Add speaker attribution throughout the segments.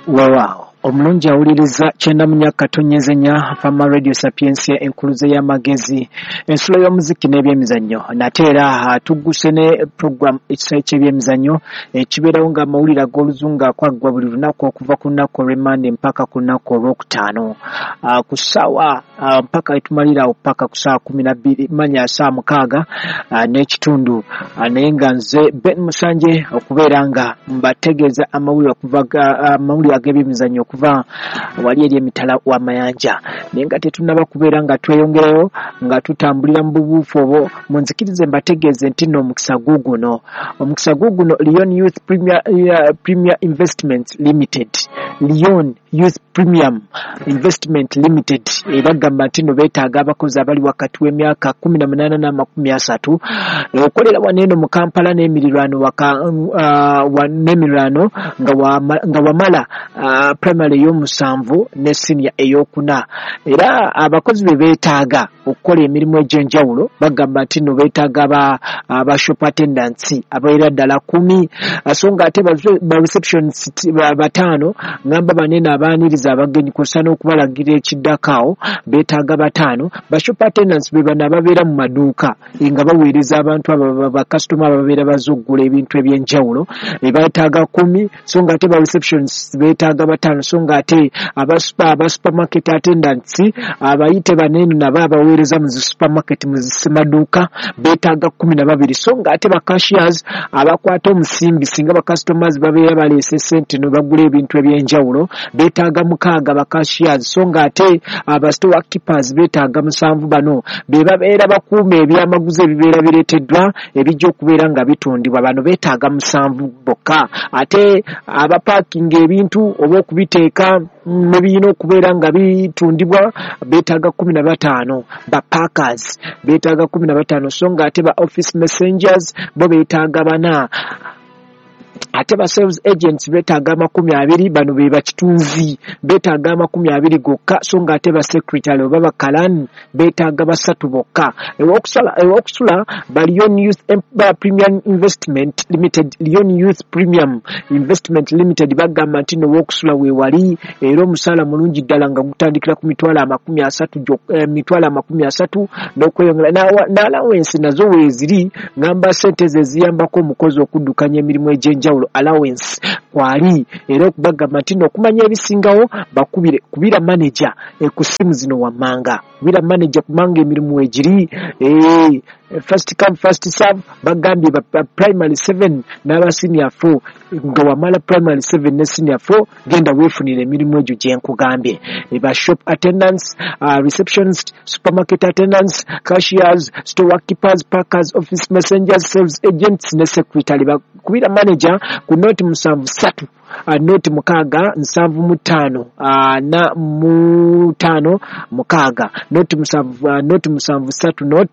Speaker 1: Weewaawo omulungi awuliriza 94.4 Fama Radio Sapiensia, enkuluze y'amagezi, ensulo y'omuziki n'ebyemizannyo. Nate era tugguse ne program ekisaawe ky'ebyemizannyo ekibeerawo ng'amawulire ag'oluzungu akwaggwa buli lunaku okuva ku lunaku olw'Emmande mpaka ku lunaku olwokutaano ku ssaawa mpaka etumalirawo paka ku ssaawa 12 manya ssaawa 6 n'ekitundu. Naye nga nze Ben Musanje okubeera nga mbategeeza amawulire okuva amawulire ag'ebyemizannyo okuva wali eri emitala w'amayanja. Naye nga tetunnaba kubeera nga tweyongerayo nga tutambulira mu bubuufu obwo, munzikirize mbategeeze nti nno omukisa guuguno, omukisa guuguno Leon Youth Premier Investments Limited, Leon Youth Premium Investment Limited ebagamba nti nno beetaaga abakozi abali wakati w'emyaka 18 n'amakumi asatu, okolera wano eno mu Kampala n'emirirwano, n'emirirwano, nga wamala primary ey'omusanvu ne senior ey'okuna. Era abakozi be beetaaga okukola emirimu egy'enjawulo, bagamba nti nno beetaaga aba shop attendants abawerera ddala 10, so nga ate ba receptionist bataano, ngamba banene abaaniriza abagenyi kw'ossa n'okubalagira ekiddako awo, beetaaga bataano. Ba shop attendants be bano ababeera mu maduuka nga baweereza abantu abo bakasitoma ababeera bazze okugula ebintu ebyenjawulo, beetaaga 10, so nga ate ba receptionist beetaaga bataano, so nga ate aba supermarket attendants, abayite banene nabo abaweereza mu zi supermarket, mu zi semaduuka, beetaaga 12, so nga ate ba cashiers abakwata omusimbi singa ba customers babeera baleese sente ne bagula ebintu ebyenjawulo, beetaaga 6 ba cashiers, so nga ate aba store keepers beetaaga 7. Bano be babeera bakuuma ebyamaguzi ebibeera bireeteddwa ebijja okubeera nga bitundibwa, bano beetaaga 7 bokka. Ate abapaakinga ebintu oba okubiteeka ne birina okubeera nga bitundibwa beetaaga 15, ba packers beetaaga 15, so nga ate ba office messengers bo beetaaga bana. Ate ba sales agents beetaaga 20, bano be bakitunzi, beetaaga 20 gokka, so nga ate ba secretary oba bakalani beetaaga basatu bokka. Ewokusula ba Leon Youth Premium Investment Limited, Leon Youth Premium Investment Limited bagamba nti no wokusula weewali, era omusaala mulungi ddala nga gutandikira ku 30,000, 30,000 n'okweyongera, n'allowance nazo weeziri, ngamba sente ze ziyambako omukozi okuddukanya emirimu egy'enjawulo, allowance kwali. Era okubagamba nti okumanya ebisingawo bakubire, kubira manager ku ssimu zino wammanga, kubira manager kubanga emirimu weegiri, first come first serve. Bagambye ba primary 7 n'aba senior 4, nga wamala primary 7 ne senior 4, genda weefunira emirimu egyo gye nkugambye, ba shop attendants, receptionist, supermarket attendants, cashiers, store keepers, packers, office messengers, sales agents ne secretary. Bakubira manager ku 073 0 6 75 4 5 6, 07, 073 0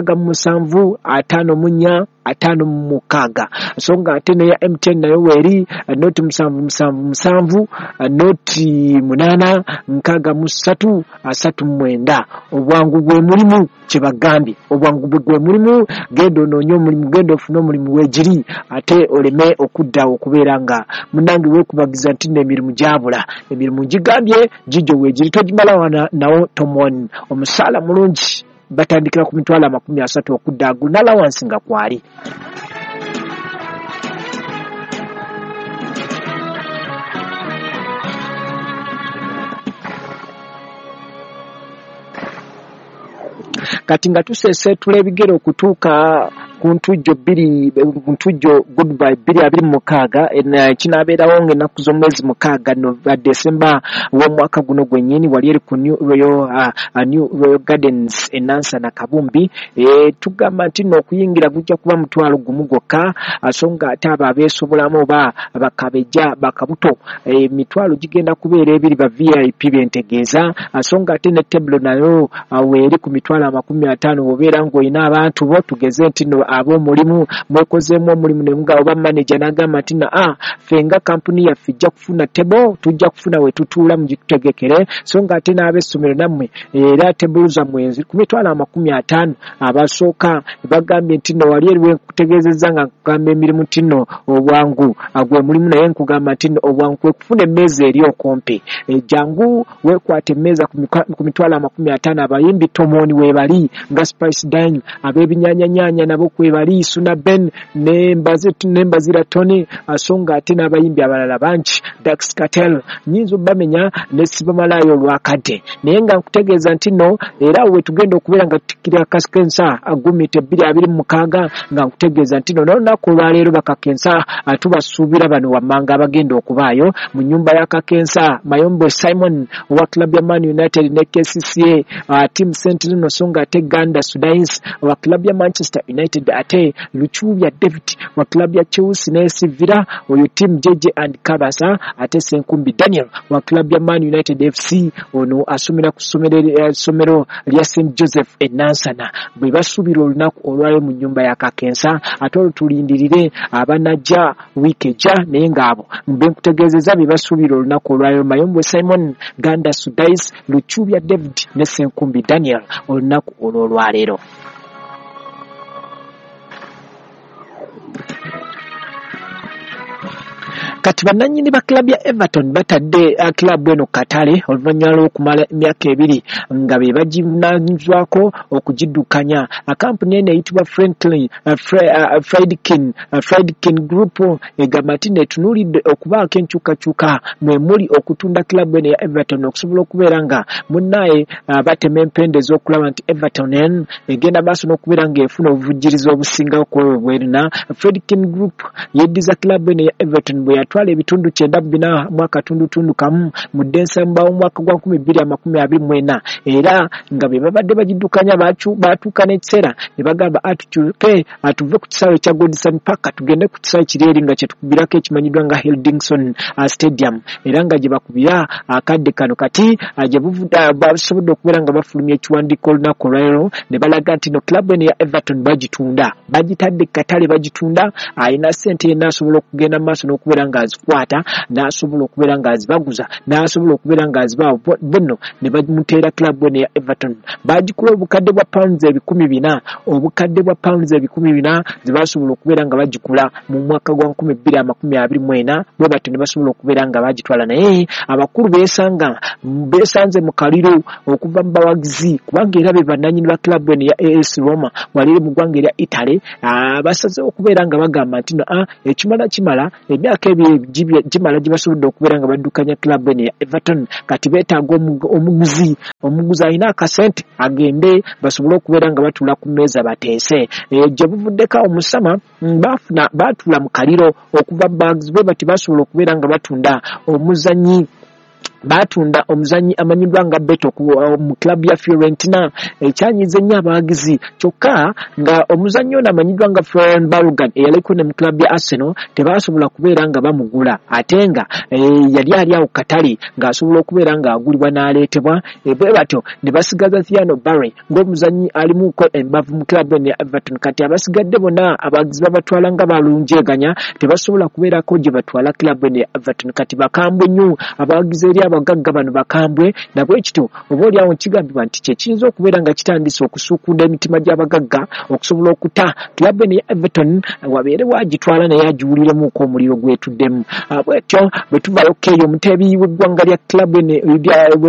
Speaker 1: 67 54 56. So nga ate neya MTN nayo weeri, 0777 08 63 39. Obwangu gwe mulimu, kyebagambye obwangu gwe mulimu. Genda onoonye omulimu, genda ofune omulimu, weegiri, ate oleme okudda okubeera nga munange weekubagiza nti nno emirimu gyabula. Emirimu gigambye gijjo weegiri, togimala wana nawo tomon. Omusaala mulungi, batandikira ku 30,000 okudda ago n'allowance nga kwali. Kati nga tuseeseetula ebigere okutuuka ku ntujjo bbiri, ntujjo goodbye 2026, kinaabeerawo ng'ennaku z'omwezi 6 Desemba w'omwaka guno gwennyini, wali eri ku New Royal Gardens e Nansana Kabumbi. Tugamba nti nno okuyingira gujja kuba 10,000 gwokka, so nga ate abo abeesobolamu oba bakabejja bakabuto, emitwalo gigenda kubeera 2, ba VIP bentegeeza, so nga ate ne table nayo weeri ku 50,000. Bw'obeera ng'olina abantu bo, tugeze nti nno ab'omulimu mwekozeemu omulimu ne mugamba oba manager n'agamba nti na ffe nga kampuni yaffe ejja kufuna table, tujja kufuna we tutuula mugitutegekere, so nga ate n'ab'essomero nammwe era table zammwe ku 50,000 abasooka bagambye nti nno wali eriwe nkutegeezezza nga nkugamba emirimu nti nno obwangu gwe mulimu, naye nkugamba nti nno obwangu kwe kufuna emmeeza eri okumpi, jangu weekwate emmeeza ku 50,000. Abayimbi Tomoni weebali nga Spice Dine, ab'ebinyaanyanyaanya nabo kwebali, Suna Ben n'Embazira Tony, so nga ate n'abayimbi abalala bangi, Dax Cartel, nnyinza obbamenya ne sibamalayo olwakadde, naye nga nkutegeeza nti nno era we tugenda okubeera nga tutikira Kakensa Gumite 2026, nga nkutegeeza nti nno n'olunaku olwaleero bakakensa tubasuubira bano wammanga abagenda okubaayo mu nnyumba ya Kakensa, Mayombo Simon owa club ya Man United ne KCCA, Team Sentinel, so nga ate Ganda Sudains owa club ya Manchester United, ate Luchubya David wa club ya Chelsea ne AS Villa, oyo Team JJ and Kabasa, ate Senkumbi Daniel wa club ya Man United FC, ono asomera ku ssomero lya St Joseph e Nansana. Bwe basuubira olunaku olwaleero mu nnyumba ya Kakensa, ate olwo tulindirire abanajja wiiki ejja, naye ng'abo mbe nkutegeezezza bye basuubira olunaku olwaleero: Mayombo Simon, Ganda Sudais, Luchubya David ne Senkumbi Daniel olunaku olw'olwaleero. Kati bannannyini ba club ya Everton batadde club eno katale oluvannyuma lw'okumala emyaka 2 nga be bagivunaanyizibwako okugiddukanya. Kampuni eno eyitibwa Friedkin Group egamba nti netunuulidde okubaako enkyukakyuka mwe muli okutunda club eno ya Everton okusobola okubeera nga munnaye batema empenda ez'okulaba nti Everton eno egenda maaso n'okubeera ng'efuna obuvujjirizi obusingawo ku ebwo bwerina. Friedkin Group yeddiza club eno ya Everton bwe yatwala ebitundu 94.1 mu Desemba omwaka gwa 2024, era nga be babadde bagiddukanya baatuuka n'ekiseera ne bagamba atukyuke atuve ku kisaawe kya Goodison Park tugende ku kisaawe kiri eri nga kye tukubirako ekimanyiddwa nga Hildingson Stadium, era nga gye bakubira akadde kano. Kati gye buvudde basobodde okubeera nga bafulumya ekiwandiiko olunaku olwaleero ne balaga nti no club eno ya Everton bagitunda, bagitadde katale bagitunda, alina ssente yenna asobola okugenda mu maaso n'okubeera ng'azikwata n'asobola okubeera ng'azibaguza n'asobola okubeera ng'azibaawo bonno ne bamuteera club eno ya Everton. Bagikula obukadde bwa pounds 4,000, obukadde bwa pounds 4,000 ze basobola okubeera nga bagikula mu mwaka gwa 2024, bwe batyo ne basobola okubeera nga bagitwala. Naye abakulu beesanze mu kaliro okuva mu bawagizi, kubanga era be bannannyini ba club eno ya AS Roma wali mu ggwanga erya Italy, basazeewo okubeera nga bagamba nti no ekimala kimala, emyaka ebiri gimala gye basobodde okubeera nga baddukanya club eno ya Everton, kati beetaaga omuguzi alina akasente agende basobole okubeera nga batuula ku mmeeza bateese. Gye buvuddeko omusama baatuula mu kaliro okuva mu bawagizi bwe bati basobola okubeera nga batunda omuzannyi amanyiddwa nga Beto mu club ya Fiorentina, ekyanyiiza ennyo abawagizi, kyokka nga omuzannyi ono amanyiddwa nga Florian Balogun eyaliko ne mu club ya Arsenal tebasobola kubeera nga bamugula, ate nga yali ali awo katale ng'asobola okubeera ng'agulibwa n'aleetebwa. Bwe batyo ne basigaza Thiano Barry ng'omuzannyi alimuko embavu mu club eno ya Everton. Kati abasigadde bonna abawagizi babatwala nga balunjeeganya, tebasobola kubeerako gye batwala club eno ya Everton. Kati bakambwe nnyo abawagizi eri abagagga bano bakambwe, nabwe kityo oba oliawo kigambibwa nti kye kiyinza okubeera nga kitandise okusuukunda emitima gy'abagagga okusobola okuta club eno ya Everton wabeere wagitwala naye agiwuliremuko omuliro gwetuddemu. Bwetyo bwe tuvaayo eyo omuteebi w'eggwanga lya club eno,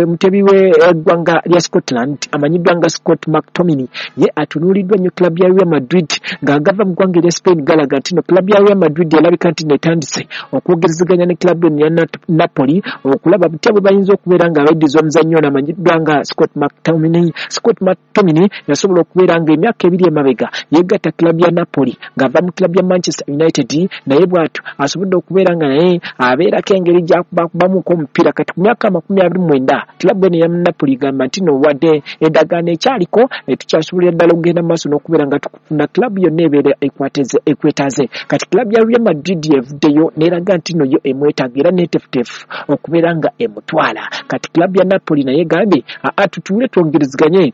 Speaker 1: omuteebi w'eggwanga lya Scotland amanyiddwa nga Scott McTominay, ye atunuuliddwa nnyo club ya Real Madrid ng'agava mu ggwanga erya Spain. Galaga nti no club ya Real Madrid erabika nti netandise okwogerezeganya ne club eno ya Napoli okulaba butya bwe bayinza okubeera nga abeddiza omuzannyo ono amanyiddwa nga Scott McTominay. Scott McTominay yasobola okubeera nga emyaka 2 emabega yeegatta club ya Napoli ng'ava mu club ya Manchester United, naye bw'atyo asobodde okubeera nga naye abeerako engeri gy'akubakubamuko omupiira. Kati ku myaka 29 club eno ya Napoli egamba nti no wadde endagaano ekyaliko tukyasobolera ddala okugenda mu maaso n'okubeera nga tukufuna club yonna ebeera ekwetaaze. Kati club ya Real Madrid evuddeyo n'eraga nti no yo emwetaaga era neeteefuteefu okubeera nga emutwala. omutwala. Kati club ya Napoli naye egambye tutuule twongerezeganye,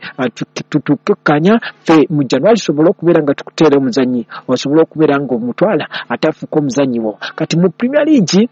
Speaker 1: tutukkanya ffe mu January tusobole okubeera nga tukuteera omuzannyi osobole okubeera nga omutwala ate afuuka omuzannyi wo. Kati mu Premier League,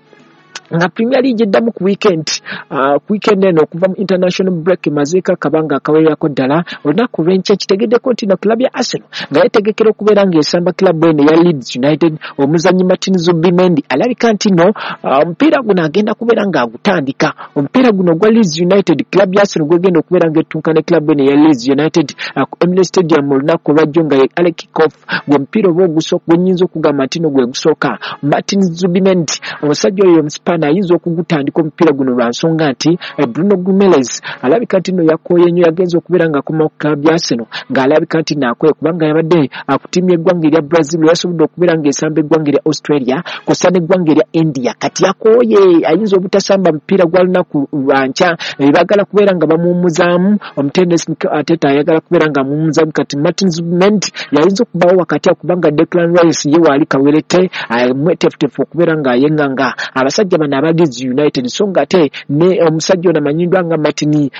Speaker 1: nga Premier League eddamu ku weekend, ku weekend eno okuva mu international break emazeeko akabanga akawererako ddala, olunaku lw'enkya kitegeddeko nti no club ya Arsenal nga yeetegekera okubeera ng'esamba club eno eya Leeds United. Omuzannyi Martin Zubimendi alabika nti no omupiira guno agenda kubeera ng'agutandika, omupiira guno ogwa Leeds United, club ya Arsenal gwegenda okubeera ng'ettunka ne club eno eya Leeds United ku Emirates Stadium olunaku olwajjo nga ye early kick-off, gwe mupiira oba ogusooka gwe nnyinza okugamba nti no gwe gusooka. Martin Zubimendi, omusajja oyo omusipaani, ayinza okugutandika omupiira guno lwa nsonga nti Bruno Guimaraes alabika nti no yakooye nnyo, yagenze okubeera ng'akoma ku club ya Arsenal ng'alabika nti naakoye, kubanga yabadde ku ttiimu y'eggwanga erya Brazil, yasobodde okubeera ng'esamba eggwanga erya Australia kw'ossa n'eggwanga erya India. Kati yakooye, ayinza obutasamba mupiira gwa lunaku lwankya. Baagala kubeera nga bamuwummuzaamu, omutendesi Mikel Arteta ayagala kubeera nga amuwummuzaamu. Kati Martin Zubimendi yayinza okubaawo wakati awo, kubanga Declan Rice ye waali kawerette mweteefuteefu okubeera ng'ayeŋŋanga abasajja bano aba Leeds United. So nga ate ne omusajja ono amanyiddwa nga Martin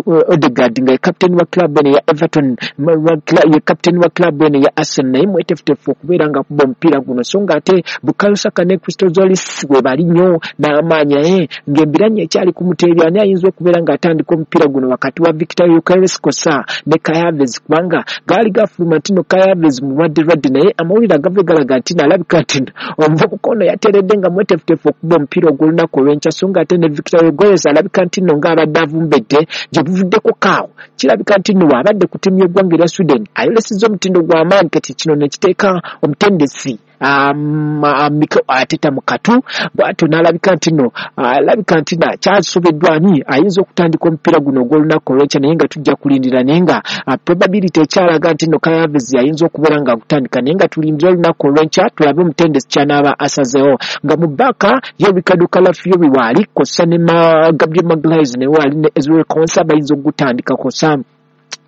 Speaker 1: Odegaard, nga ye captain wa club eno eya Everton, ye captain wa club eno eya Arsenal, naye mweteefuteefu okubeera nga akuba omupiira guno. So nga ate Bukayo Saka ne Christos Tzolis we bali nnyo n'amaanyi, naye ng'embiranye ekyali ku muteebi ani ayinza okubeera ng'atandika omupiira guno wakati wa Victor Gyökeres kosa ne Kai Havertz, kubanga gaali gafuluma nti no Kai Havertz mulwadde lwadde, naye amawulire agava galaga nti nalabika nti omuvubuka ono yateredde nga mweteefuteefu okuba omupiira ogw'olunaku olw'enkya. So nga ate ne Victor Gyökeres alabika nti nno ng'abadde avumbedde gye buvuddeko kaawo, kirabika nti nno bw'abadde ku ttiimu y'eggwanga erya Sweden ayolesezza omutindo gw'amaanyi. Kati kino ne kiteeka omutendesi Mikel Arteta mu katu bw'atyo n'alabika nti nno alabika nti kyasobeddwa ani ayinza okutandika omupiira guno ogw'olunaku olw'enkya, naye nga tujja kulindira, naye nga probability ekyalaga nti nno Kai Havertz ayinza okubeera ng'agutandika, naye nga tulindire olunaku olw'enkya tulabe omutendesi ky'anaaba asazeewo. Nga mu baaka ye Riccardo Calafiori waali kw'ossa ne Gabriel Magalhaes naye waali ne Ezri Konsa bayinza okugutandika kw'ossa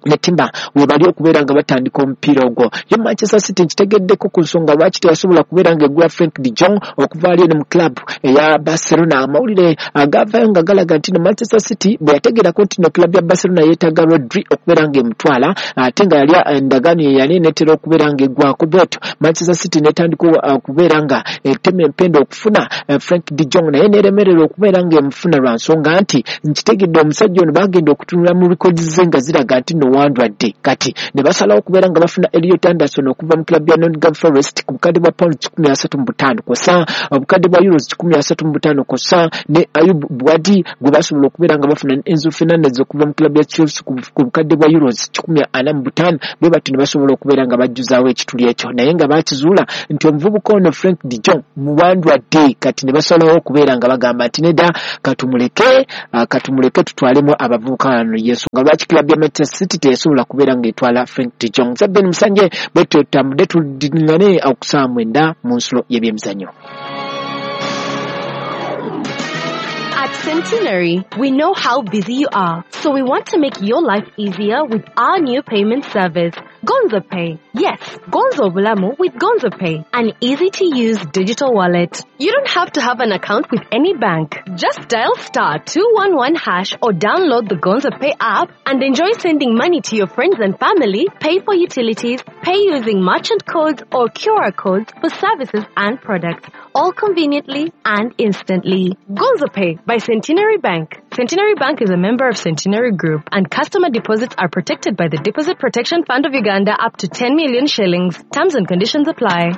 Speaker 1: ne Timber we bali okubeera nga batandika omupiira ogwo. Yo Manchester City nkitegeddeko ku nsonga lwaki teyasobola kubeera ng'egula Frank de Jong okuva ali eno mu club eya Barcelona. Amawulire agavayo nga galaga nti no Manchester City bwe yategeerako nti no club ya Barcelona yeetaaga Rodri okubeera ng'emutwala, ate nga yali endagaano ye yali eneetera okubeera ng'eggwako, bwetyo Manchester City n'etandika okubeera nga etema empenda okufuna Frank de Jong, naye n'eremererwa okubeera ng'emufuna lwa nsonga nti nkitegedde omusajja ono bagenda okutunula mu records ze nga ziraga nti no wandwadde. Kati ne basalawo okubeera nga bafuna Elliot Anderson okuva mu club ya Nottingham Forest ku bukadde bwa pounds 135 kw'ossa obukadde bwa euros 135, kw'ossa ne Ayyoub Bouaddi gwe basobola okubeera nga bafuna ne Enzo Fernandez okuva mu club ya Chelsea ku bukadde bwa euros 145. Bwe batyo ne basobola okubeera nga bajjuzaawo ekituli ekyo, naye nga bakizuula nti omuvubuka ono Frank de Jong muwandwadde. Kati ne basalawo okubeera nga bagamba nti nedda, katumuleke tutwalemu abavubuka bano. Yensonga lwaki club ya Manchester City teyasobola kubeera ng'etwala Frank de Jong. Nze Ben Musanje, bwe tutambudde tuddingane okusaawa 9 mu nsulo y'ebyemizannyo.
Speaker 2: At Centenary, we know how busy you are, so we want to make your life easier with our new payment service, Gonzo Pay. Yes, Gonzo Bulamu with Gonzo Pay, an easy-to-use digital wallet. You don't have to have an account with any bank. Just dial star 211 hash or download the Gonzo Pay app and enjoy sending money to your friends and family, pay for utilities, pay using merchant codes or QR codes for services and products, all conveniently and instantly. Gonzo Pay by Centenary Bank. Centenary Bank is a member of Centenary Group, and customer deposits are protected by the Deposit Protection Fund of Uganda up to 10 million shillings. Terms and conditions apply.